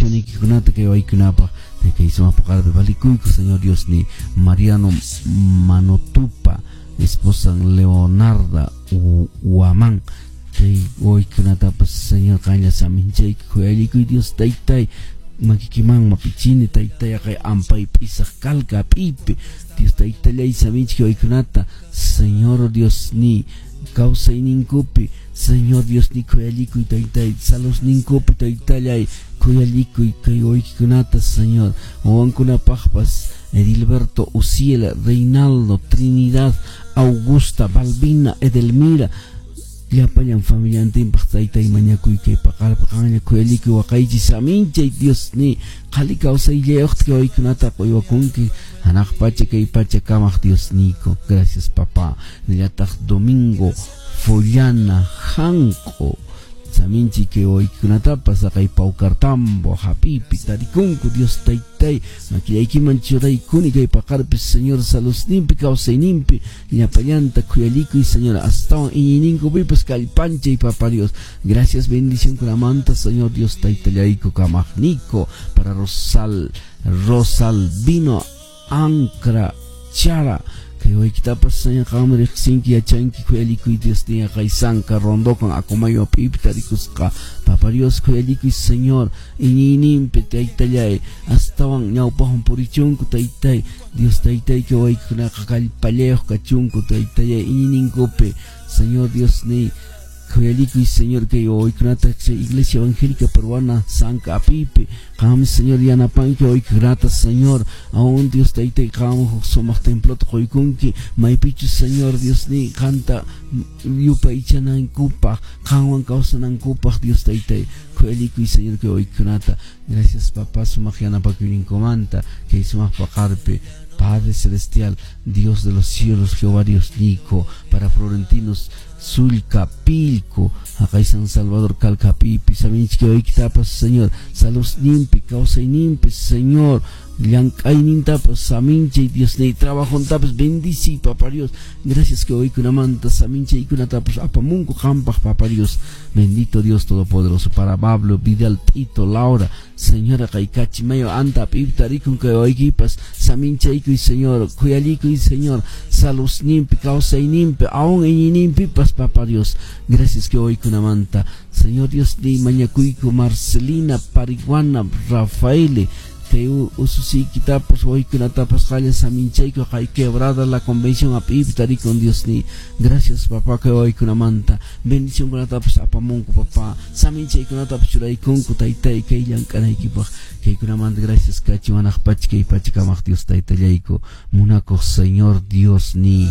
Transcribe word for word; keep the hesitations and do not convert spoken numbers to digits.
Bendicioniykikunata kay waykunapaq kay sumaq paqarpi valikuyku, Señor Dios ni Mariano Manotupa esposan Leonarda Huamán kay waykunatapas, Señor, qanlla saminchayki khuyallikuy Dios taytay makikiman mapichini taytay kay ampay p'isaq kalka p'ipi Dios taytallay saminchik waykunata, Señor Dios ni kawsayninkupi, Señor Dios ni khuyallikuy taytay salusninkupi taytallay khuyallikuy kay waykikunata, Señor, wawankunapaqpas Edilberto, Uciela, Reinaldo, Trinidad, Augusta, Balbina, Edelmira llapallan familiantinpaq taytay mañakuy kay paqarpa qanlla khuyallikuy waqaychis saminchay Dios ni qhali kawsayllayuqta kay waykunata quywakunki hanaq pacha kay pacha kamaq Dios niyku. Gracias, papá. Nillataq Domingo Follana Janq'o saminchik kay waykunatapas kay Paucartambo hapipi tarikunku Dios taytay makillaykiman churaykuni kay paqarpis, Señor, salusninpi kawsayninpi llapallanta khuyallikuy, Señor, astawan iñiyninkupipas kallpanchay, papá Dios. Gracias bendición kunamanta, Señor Dios taytallayku kamaqniyku. Para Rosal Rosalvino Ancra Chara kay waykitapas, Señor, qanmi riqsinki yachanki khuyallikuy Dios niya kay Sanka Rondokan Acomayo p'ipi tarikusqa, papá Dios, khuyallikuy, Señor, iñiyninpi taytallay astawan ñawpaqman purichunku taytay Dios taytay kay waykunaqa kallpallayuq kachunku taytallay iñiyninkupi, Señor Dios ni khuyallikuy, Señor, kay waykunata Iglesia Evangélica Peruana Sanka apipi qanmi, Señor, yanapanki waykunata, Señor, aún Dios taytay qam huk sumaq templota quykunki maypichus, Señor Dios ni qanta yupaychanankupaq qanwan kawsanankupaq Dios taytay khuyallikuy, Señor, kay waykunata. Gracias, papá, sumaq yanapakuyninkumanta kay sumaq paqarpi. Padre Celestial, Dios de los cielos, Jehová Dios Nico, para Florentinos Sulca Pilco, haqay San Salvador Calcapipi, saminchik waykitapas, Señor, salusninpi kawsayninpi, Señor, llank'aynintapas saminchay Dios ni trabajontapas bendici, papá Dios. Gracias que waykunamanta saminchaykunatapas apamunku qampaq, papá Dios. Bendito Dios Todopoderoso. Para Pablo Vidal Tito Laura, Señora, kay Cachimayo anta p'ipi tarikun kay waykipas saminchaykuy, Señor, khuyallikuy, Señor, salusninpi kawsayninpi aún iñiyninpipas, papá Dios. Gracias que waykunamanta, Señor Dios ni mañakuyku Marcelina Pariguana Rafaele kay ususiykitapas waykunatapas qalla saminchayku kay Quebrada La Convención ap'ipi tarikun Dios ni. Gracias, papá, kay waykunamanta bendición kunatapas apamunku, papá, saminchaykunatapas churaykunku taytay kay llank'anaykipaq kaykunamanta gracias kachi wanaq pacha kay pacha kamaq Dios taytallayku munakuq Señor Dios ni.